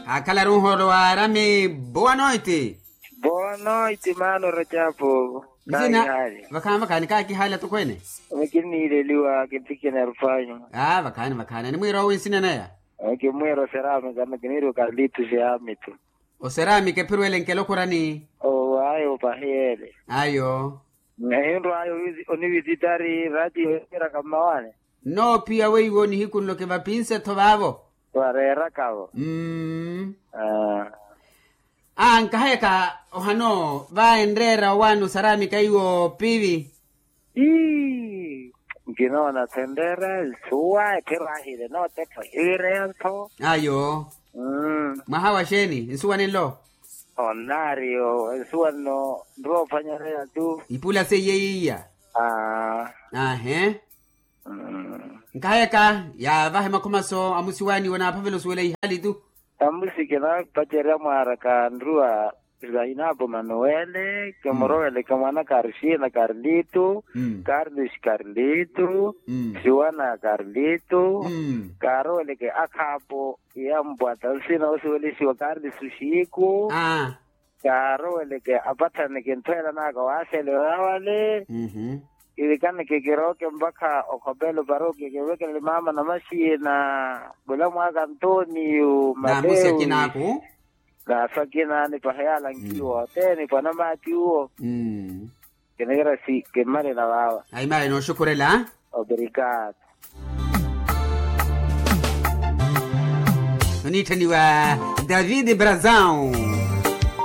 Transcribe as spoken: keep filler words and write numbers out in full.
Kaakhalaru nhoolo wa arami. Boa noiti. Boa noiti maano rajapu. Nzina. Vakhaani vakhaani kaakihaala tokweene. Kinniileliwa kintikina rupanyu. Aa vakhaani vakhaani animwiira owi nsina naya. Kimwiira oserami kana kiniiriwa karlito siyamitu. Oserami kephirwele nkelo khurani. Owayo pahiyele. Ayo. Nahinrwayo onivisitari ratio emiraka mmawane. Nnoophiya weiwo nihiku nlo kivapinse-tho vaavo. Vareerakavo. Aa nkahayaka ohano vaenreera owaani osaramika iwo pivi. Ii nkinoona thenreera nsuwa ephiro ahile nootettho hiwireya-tho. Ayo. Mwaha wa xeeni nsuwa ninlo? Onnaari yo ensuwa nno nroophanyareya-tu. Ipula seiye iya. Aa. Aahe. Nkahayaka yaavahe makhumaso amusiwaani wanaaphavela osuwela ihaali tu. Amusi kinaapacerya mwaaraka nruwa. Zainapu manuwele kimuroweleke mwanaka arixina karlito. Karlisi karlito. Siwana karlito. Kaaroweleke akhaapo. Iya mpwata nsina osuwelesiwa karlisi oxiku. Kaaroweleke apatthane kinthweela naka waaxele oya wale. Kivikaneke kirooke mpakha okhopelo parokiya kivekelele maama namaxiina. Mulamu aka antoniyo matewi. Naasa akina nipaha yaalankiwa othene pwanamaati uwo. Kinikira si kimmalela vaawa. Ayi mayi nooxukhurela. Obrigado. Oniitthaniwa david brazão.